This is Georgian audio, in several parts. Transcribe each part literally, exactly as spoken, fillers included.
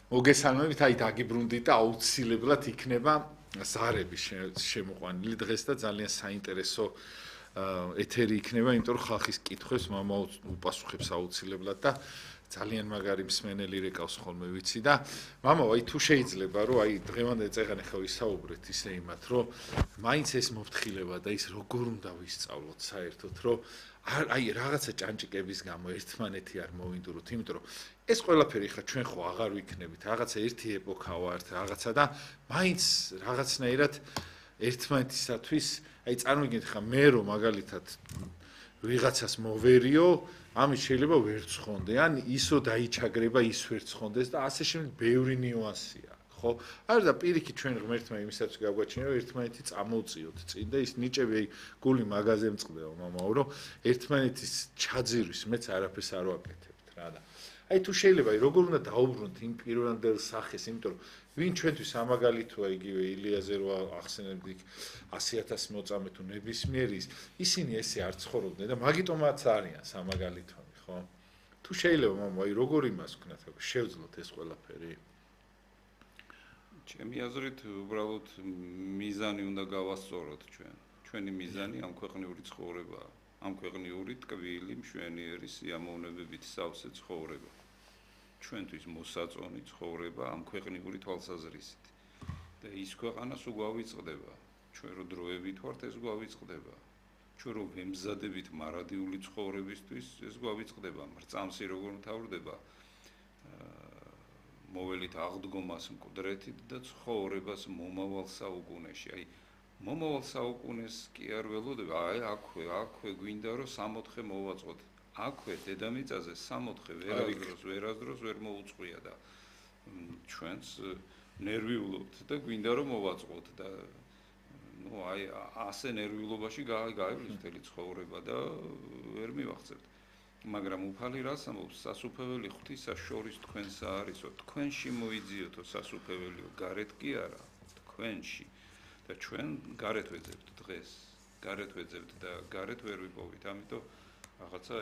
მოგესალმებით, აი დაგიბრუნდით და აუცილებლად იქნება ზარები შემოყვანილი დღეს და ძალიან საინტერესო ეთერი იქნება, იმიტომ რომ ხალხის კითხვებს მამა უპასუხებს აუცილებლად და ძალიან მაგარი მსმენელი რეკავს ხოლმე ვიცი და მამა, აი თუ შეიძლება რომ აი დღევანდელ წეგან ახლა ვისაუბრეთ ისე იმათ, რომ მაინც ეს მოფთხილება და ის როგორ უნდა ვისწავლოთ საერთოდ, რომ აი რაღაცა ჭანჭიკების გამო ერთმანეთი არ მოვინდუროთ, იმიტომ რომ ეს ყველაფერი ხა ჩვენ ხო აღარ ვიქნებით, რაღაცა ერთი ეპოქა ვართ, რაღაცა და მაინც რაღაცნაირად ერთმანეთისათვის, აი წარმოგიდგენთ ხა მე რომ მაგალითად ვიღაცას მოვერიო, ამის შეიძლება ვერ ცხონდე, ან ისო დაიჩაგრება, ის ვერ ცხონდეს და ასე შემდეგ ბევრი ნიუანსია. ხო? არა და პირიქით ჩვენ ღმერთმა იმისაც გავგვაჩინა, რომ ერთმანეთი წამოვწიოთ წინ და ის ნიჭები აი გული მაღაზე მწყდება, მამაო, რომ ერთმანეთის ჩაძირვის მეც არაფერს არ ვაკეთებთ რა და აი თუ შეიძლება აი როგორ უნდა დაუბრუნოთ იმ პირვანდელ სახეს, იმიტომ რომ ვინ ჩვენთვის ამაგალითოა იგივე ილიაზე რო ახსენებდი ასი ათასი მოწამე თუ ნებისმიერის, ისინი ესე არ ცხოვრობდნენ და მაგიტომაც არიან სამაგალითონი, ხო? თუ შეიძლება მამა აი როგორ იმას ვქნათ, შევძლოთ ეს ყველაფერი? ჩემი აზრით უბრალოდ მიზანი უნდა გავასწოროთ ჩვენ. ჩვენი მიზანი ამ ქვეყნიური ცხოვრებაა. ამ ქვეყნიური ტკბილი, მშვენიერი სიამოვნებებით სავსე ცხოვრება. ჩვენთვის მოსაწონი ცხოვრება ამ ქვეყნიური თვალსაზრისით. და ის ქვეყანას უგვავიწყდება. ჩვენ რო დროებით ვართ, ეს გვავიწყდება. ჩვენ რო ვემზადებით მარადიული ცხოვრებისთვის, ეს გვავიწყდება. მრწამსი როგორ მთავრდება მოველით აღდგომას მკვდრეთით და ცხოვრებას მომავალ საუკუნეში. აი მომავალ საუკუნეს კი არ ველოდება, აი აქვე, აქვე გვინდა რომ სამოთხე მოვაწყოთ. აქვე დედამიწაზე სამოთხე ვერასდროს, ვერასდროს ვერ მოუწყვია და ჩვენს ნერვიულობთ და გვინდა რომ მოვაწყოთ და ნუ აი ასე ნერვიულობაში გაიგვლის მთელი ცხოვრება და ვერ მივახცევთ. მაგრამ უფალი რას ამბობს, სასუფეველი ღვთისა შორის თქვენსა არისო, თქვენში მოიძიოთო სასუფეველიო, გარეთ კი არა, თქვენში. და ჩვენ გარეთ ვეძებთ დღეს, გარეთ ვეძებთ და გარეთ ვერ ვიპოვით, ამიტომ რაღაცა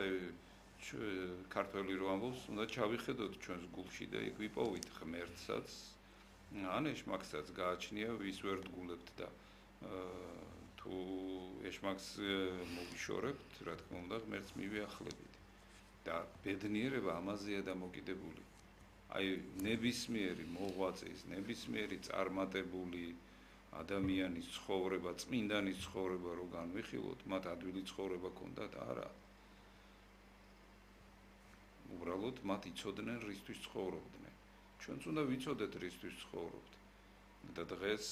ქართველი რო ამბობს, უნდა ჩავიხედოთ ჩვენს გულში და იქ ვიპოვით ღმერთსაც, ან ეშმაკსაც გააჩნია, ვის ვერ დგულებთ და თუ ეშმაკს მოგიშორებთ, რა თქმა უნდა, ღმერთს მივიახლებით. და ბედნიერება ამაზეა დამოკიდებული. აი ნებისმიერი მოღვაწის, ნებისმიერი წარმატებული ადამიანის ცხოვრება, წმინდანის ცხოვრება რო განვიხილოთ, მათ ადვილი ცხოვრება ქონდათ, არა. უბრალოდ მათ იცოდნენ რისთვის ცხოვრობდნენ. ჩვენც უნდა ვიცოდეთ რისთვის ცხოვრობთ. და დღეს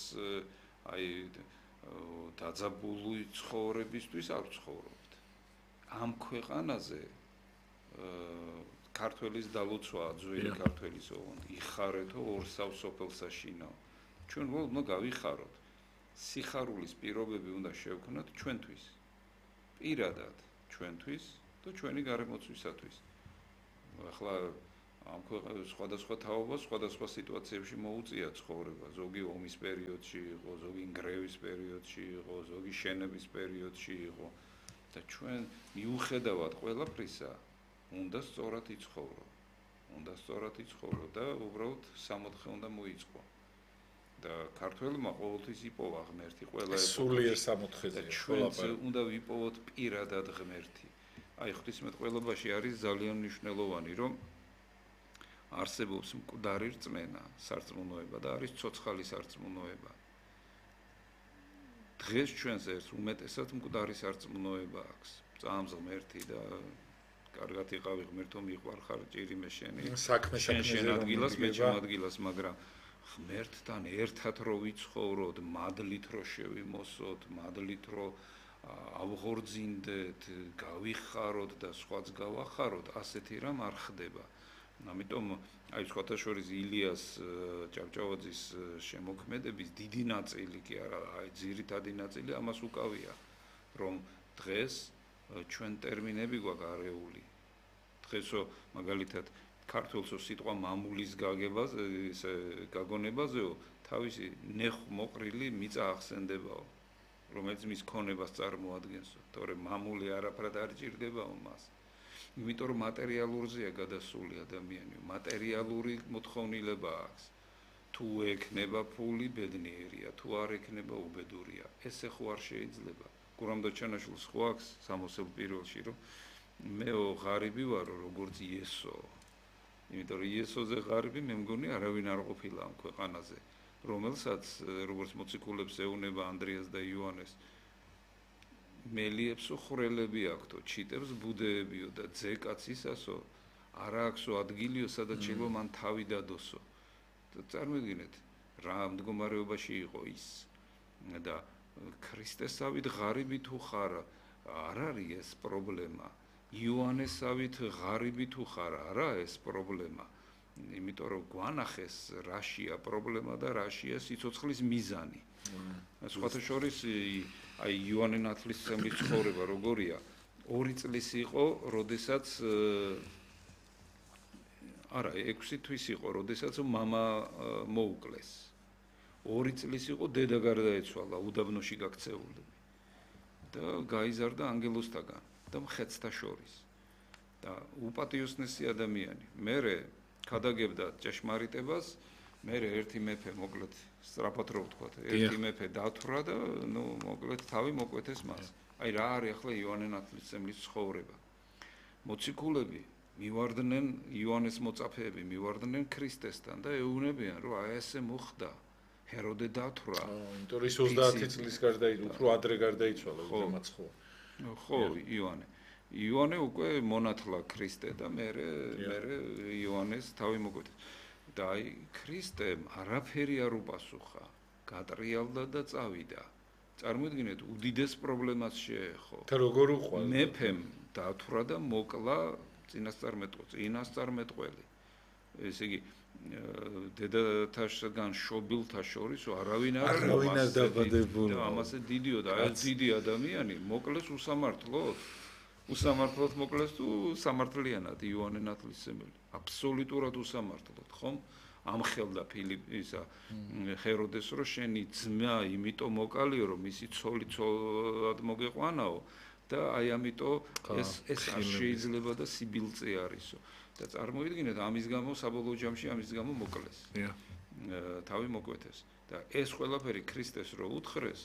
აი დაძაბული ცხოვრებისთვის არ ცხოვრობთ. ამ ქვეყანაზე ქართველის დალოცვა, ძველი ქართველის ოღონდ იხარეთო ორსავ სოფელსა შინო. ჩვენ უნდა გავიხაროთ. სიხარულის პირობები უნდა შევქნათ ჩვენთვის. პირადად ჩვენთვის და ჩვენი გარემოცვისათვის. ახლა ამ ქვეყანაში სხვადასხვა თაობა, სხვადასხვა სიტუაციებში მოუწია ცხოვრება. ზოგი ომის პერიოდში იყო, ზოგი ნგრევის პერიოდში იყო, ზოგი შენების პერიოდში იყო და ჩვენ მიუხედავად ყველაფრისა უნდა სწორად იცხოვრო. უნდა სწორად იცხოვრო და უბრალოდ სამოთხე უნდა მოიწყო. და ქართველმა ყოველთვის იპოვა ღმერთი ყველა ეპოქაში. სულიერ სამოთხეზე. ჩვენც უნდა ვიპოვოთ პირადად ღმერთი. აი ღვთისმეტყველობაში არის ძალიან მნიშვნელოვანი, რომ არსებობს მკვდარი რწმენა, სარწმუნოება და არის ცოცხალი სარწმუნოება. დღეს ჩვენს ერთ უმეტესად მკვდარი სარწმუნოება აქვს. წამს ღმერთი და კარგად იყავი ღმერთო მიყვარხარ ჭირიმე შენი. საქმე შენ შენ ადგილას მე ჩემ ადგილას, მაგრამ ღმერთთან ერთად რო ვიცხოვროთ, მადლით რო შევიმოსოთ, მადლით რო ავღორძინდეთ, გავიხაროთ და სხვაც გავახაროთ, ასეთი რამ არ ხდება. ამიტომ აი სხვათა შორის ილიას ჭავჭავაძის შემოქმედების დიდი ნაწილი კი არა, აი ძირითადი ნაწილი ამას უკავია, რომ დღეს ჩვენ ტერმინები გვაქვს არეული. დღესო მაგალითად ქართულსო სიტყვა მამულის გაგებაზე, ესე გაგონებაზეო, თავისი ნეხმოყრილი მიწა ახსენდებაო, რომელიც მის ქონებას წარმოადგენსო, თორემ მამული არაფრად არ ჭირდებაო მას. იმიტომ რომ მატერიალურზეა გადასული ადამიანი, მატერიალური მოთხოვნილება აქვს. თუ ექნება ფული, ბედნიერია, თუ არ ექნება, უბედურია. ესე ხო არ შეიძლება. გურამ დოჩანაშვილს ხო აქვს სამოსელ პირველში, რომ მეო ღარიბი ვარო, როგორც იესო. იმიტომ რომ იესოზე ღარიბი მე მგონი არავინ არ ყოფილა ამ ქვეყანაზე, რომელსაც როგორც მოციქულებს ეუნება ანდრიას და იოანეს მელიებსო ხვრელები აქვთო, ჩიტებს ბუდეებიო და ძეკაც ისასო, არა აქვსო ადგილიო, სადაც შეიძლება მან თავი დადოსო. წარმოიდგინეთ, რა მდგომარეობაში იყო ის და ქრისტესავით ღარიბი თუ ხარ, არ არის ეს პრობლემა. იოანესავით ღარიბი თუ ხარ, არა ეს პრობლემა. იმიტომ რომ გვანახეს რაშია პრობლემა და რაშია სიცოცხლის მიზანი. სხვათა შორის აი იოანე ნათლისმცემლის ცხოვრება როგორია? ორი წლის იყო, როდესაც არა, ექვსი თვის იყო, როდესაც მამა მოუკლეს. ორი წლის იყო, დედა გარდაეცვალა, უდაბნოში გაქცეული. და გაიზარდა ანგელოსთაგან და მხედრთა შორის. და უპატიოსნესი ადამიანი. მერე ქადაგებდა ჭეშმარიტებას, მერე ერთი მეფე მოკლედ სწრაფად რო ვთქვათ, ერთი მეფე დათვრა და ნუ მოკლედ თავი მოკვეთეს მას. აი რა არის ახლა იოანე ნათლისმცემლის ცხოვრება. მოციქულები მივარდნენ იოანეს მოწაფეები მივარდნენ ქრისტესთან და ეუბნებიან რომ აი ესე მოხდა ჰეროდე დათვრა. იმიტომ რომ ის ოცდაათი წლის გარდაიცვალა, უფრო ადრე გარდაიცვალა უზემაც ხო. ხო, იოანე. იოანე უკვე მონათლა ქრისტე და მერე მერე იოანეს თავი მოკვეთეს. და აი ქრისტემ არაფერი არ უპასუხა, გატრიალდა და წავიდა. წარმოიდგინეთ, უდიდეს პრობლემას შეეხო. და როგორ უყვა? მეფემ დათვრა და მოკლა წინასწარმეტყველი, წინასწარმეტყველი. ესე იგი, დედათაშგან შობილთა შორის არავინ არ არის დაბადებული. და ამასე დიდიო და აი დიდი ადამიანი მოკლეს უსამართლოდ. უსამართლოდ მოკლეს თუ სამართლიანად იოანე ნათლისმცემელი. აბსოლუტურად უსამართლოდ, ხომ? ამხელდა ფილიპ ისა ჰეროდეს რომ შენი ძმა იმიტომ მოკალიო რომ მისი ცოლი ცოლად მოგეყვანაო და აი ამიტომ ეს ეს არ შეიძლება და სიბილწე არისო. და წარმოიდგინეთ ამის გამო საბოლოო ჯამში ამის გამო მოკლეს. თავი მოკვეთეს. და ეს ყველაფერი ქრისტეს რო უთხრეს,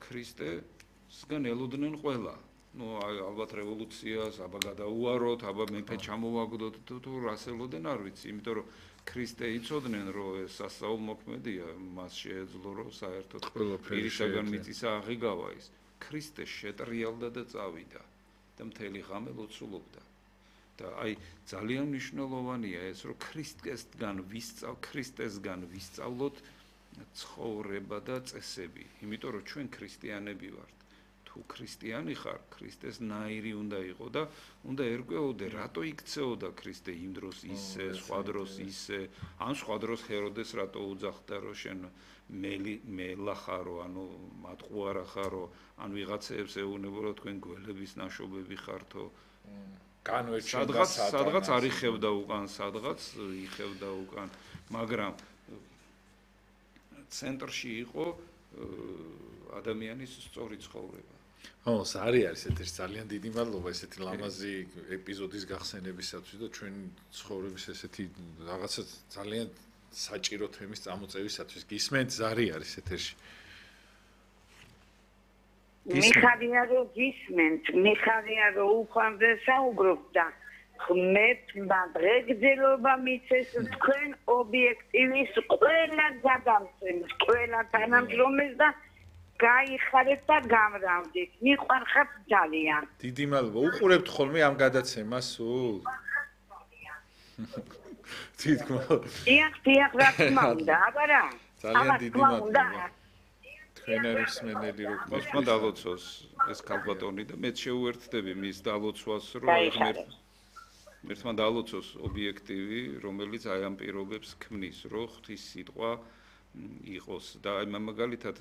ქრისტესგან ელოდნენ ყველა. ნუ ალბათ რევოლუციას, აბა გადაუაროთ, აბა მეფე ჩამოვაგდოთ თუ რასელოდენ არ ვიცი, იმიტომ რომ ქრისტე იცოდნენ რომ ეს სასწაულმოქმედია, მას შეეძლო რომ საერთოდ პირისაგან მიწისა აღიგავა ის. ქრისტე შეტრიალდა და წავიდა და მთელი ღამე ლოცულობდა. და აი ძალიან მნიშვნელოვანია ეს რომ ქრისტესგან ვისწავ ქრისტესგან ვისწავლოთ ცხოვრება და წესები, იმიტომ რომ ჩვენ ქრისტიანები ვართ. თუ ქრისტიანი ხარ, ქრისტეს ნაირი უნდა იყო და უნდა ერკვეოდე, რატო იქცეოდა ქრისტე იმ დროს ისე, სხვა დროს ისე, ან სხვა დროს ჰეროდეს რატო უძახდა რომ შენ მელი მელა ხარო, ანუ მატყუარა ხარო, ან ვიღაცებს ეუბნებო რომ თქვენ გველების ნაშობები ხართო. სადღაც სადღაც არ იხევდა უკან, სადღაც იხევდა უკან, მაგრამ ცენტრში იყო ადამიანის სწორი ცხოვრება. ო, სარი არის ეთერში ძალიან დიდი მადლობა ესეთი ლამაზი ეპიზოდის გახსენებისათვის და ჩვენ ცხოვრების ესეთი რაღაცა ძალიან საჭირო თემის წამოწევისათვის. გისმენთ, ზარი არის ეთერში. მიხარია რომ გისმენთ, მიხარია რომ უხვამდე საუბრობ და ღმერთმა დღეგრძელობა მიცეს თქვენ ობიექტივის ყველა გადამცემს, ყველა თანამშრომელს და გაიხარეთ და გამრავლდით. მიყვარხართ ძალიან. დიდი მადლობა. უყურებთ ხოლმე ამ გადაცემას სულ? თითქოს. დიახ, დიახ, რა თქმა უნდა, აბა რა. ძალიან დიდი მადლობა. თქვენ არის მსმენელი რო მოსმა დალოცოს ეს ქალბატონი და მეც შეუერთდები მის დალოცვას რომ ერთმა დალოცოს ობიექტივი, რომელიც აი ამ პირობებს ქმნის, რომ ღვთის სიტყვა იყოს და აი მაგალითად